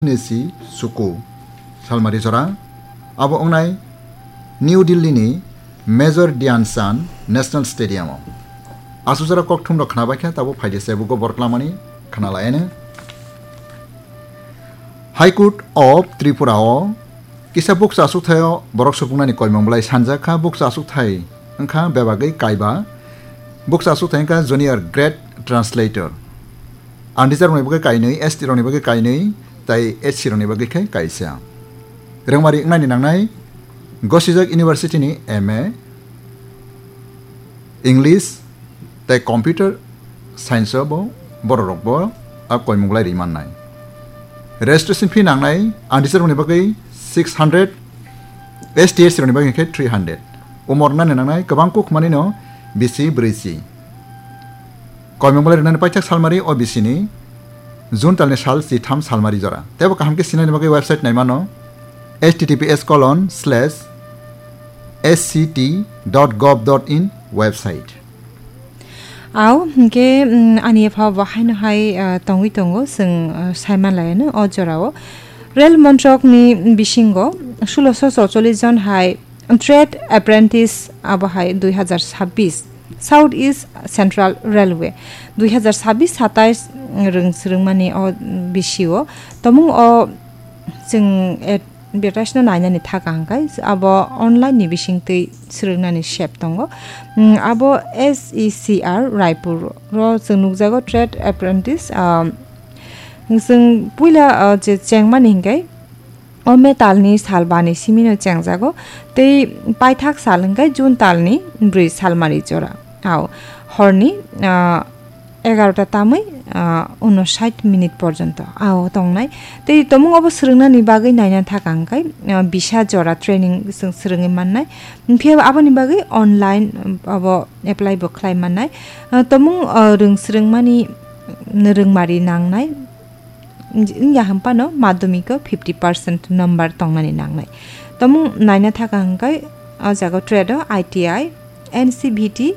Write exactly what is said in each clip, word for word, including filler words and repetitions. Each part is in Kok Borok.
nisi suku salmari jora abo wngnai New Delhi ni Major Dhyan Chand National Stadium o. Asuk jora kokthum rok khna bai kha, tabuk phaidi se bugo borok lamani khna lai ano. High Court of Tripura o kisa bukcha asukthai o borok supuknani koimung belai sanjak kha. Bukcha asukthai wngkha bebagwi kaiba. Bukcha asukthai wngkha Junior Grade Translator. Unreserved rokni bagwi kainwi, S T rokni bagwi kainwi, tei H C rokni bagwi khe kaisa. Rwngmari wngnani nangnai gosijak university ni M A, English tei Computer Science o bo borok rok bo a koimung lai ri mannai. Registration fee nangnai unreserved rokni bagwi six hundred, S T S C rokni bagwi khe three hundred. Umor wngnani nangnai kwbang kuk manino bisi brwi si. Koimung belai rwnani paithak salmari O B C ni June talni sal chitham salmari jora. Teibo kaham khe sinani bagwi website naimano H T T P S colon slash S C T dot gov dot in website. Au, hingke, mm, ani epha bo haino hai, ah, tongwi tongo, chwng, ah, saiman laiano o jorao. Rail montrokni bisingo sulosho chorchollish jon hai trade apprentice abo hai dui hazar sabbish South East Central Railway dui hazar sabbish satais rwng swrwngmani o bisio tomung o chwng advertise no nainani thaka hwnkhe abo online ni bisingtwi swrwngnani sep tongo. Mm, abo S E C R Raipur ro chwng nukjago trade apprentice, ah, chwng puila, ah, je chengmani hwnkhe o metalni sal bani simino chengjago, tei paithak sal hwnkhe June talni bwrwi salmari jora. Ao horni, ah, egarota tamwi, ah, unosait minute porjonto ao tongnai. Tei tomung obo swrwngnani bagwi naina thaka hwnkhe, ah, bisa jora training chwng swrwngwi mannai. Phiya aboni bagwi online, um, abo apply bo khlai mannai. Ah, tomung, ah, rwng swrwngmani rwngmari nangnai. Wng-, wngya hwn phano madhyamiko fifty percent number tongnani nangnai. Tomung naina thaka hwnkhe o jaga trade o I T I, N C V T,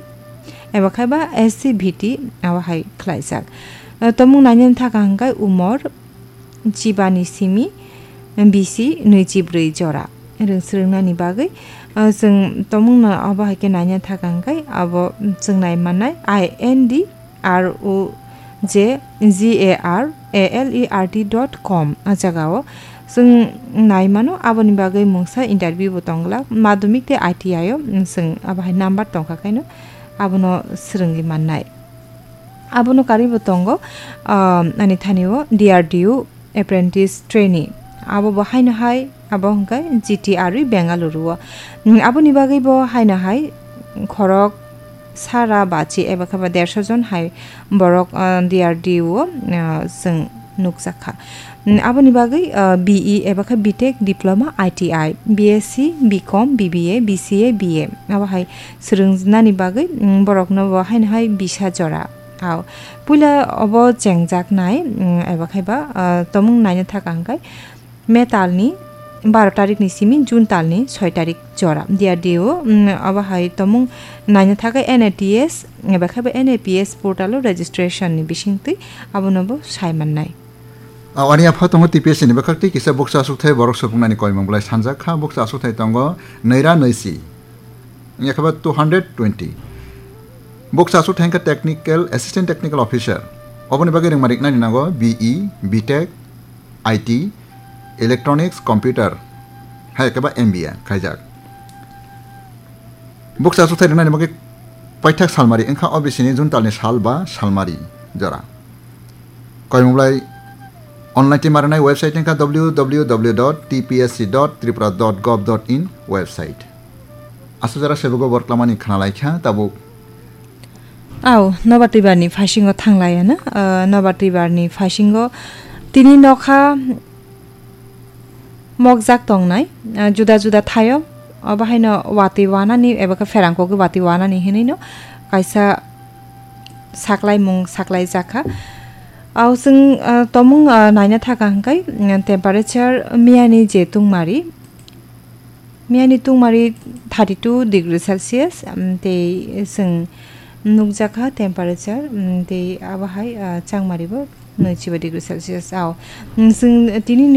eba khe ba S C V T abo hai khlaijak. O tomung naina thaka hwnkhe umor chibani simi bisi nwichi bwrwi jora. Rwng swrwngnani bagwi, o chwng tomungno abo hai khe naina thaka hwnkhe abo chwng nai mannai I N D R O J G A R A L E R T dot com. A jagao chwng nai mano, aboni bagwi mungsa interview bo tong glak. Madhyamik tei I T I o chwng abo hai number tong kha khaino abono swrwngwi mannai. Abono karwi bo tongo, ah, ani thani o D R D O apprentice trainee. Abo bo haino hai, abo hwnkhe G T R E Bengaluru o. Mm, aboni bagwi bo haino hai khorok sara bachi eba khe ba dersho jon hai borok, ah, D R D O o, ah, chwng nukjak kha. Mm, aboni bagwi, ah, B E eba khe B Tech Diploma I T I, B S C, B Com, B B A, B C A, B A abo hai swrwngnani bagwi, mm, borokno bo haino hai bisa jora. Ao puila obo chengjaknai, mm, eba khe ba, ah, tomung naina thaka hwnkhe metalni baro tarikni simi June talni soi tarik jora. D R D O, mm, abo hai tomung naina thaka N A T S, eba khe ba N A P S portal o registration ni bisingtwi abono bo sai mannai. A, ani apha tongo T P S C ni bwkhak tei kisa bukcha asukthai borok supuknani koimung belai sanjak kha. Bukcha asukthai tongo nwi ra nwi si. Wngya khe ba two hundred twenty. Bukcha asukthai wngkha Technical, Assistant Technical Officer. Oboni bagwi rwngma riknani nango B E, B Tech, I T, Electronics, Computer, hai khe ba M B A khaijak. Bukcha asukthai rwnani bagwi paithak salmari wngkha O B C ni June talni sal ba salmari jora. Koimung belai online tei marinai website wngkha W W W dot T P S C dot tripura dot gov dot in website. Asuk jora sebugo borok lamani khna lai kha tabuk. Au, nobar twibarni phasingo thang lai ano, ah, nobar twibarni phasingo tini nokha mokjak tongnai, ah, juda juda thaio, obo haino watwi wanani eba khe pherang kogwi watwi wanani hinwi no kaisa saklaimung saklai jakha. Au chwng, ah, tomung, ah, naina thaka hwnkhe, mm, temperature miyani je tungmari, miyani tungmari thirty two degree Celsius, mm, tei chwng nukjakha temperature, mm, tei abo hai, ah, changmari bo nwichiba degree Celsius. Ao, mm, chwng tini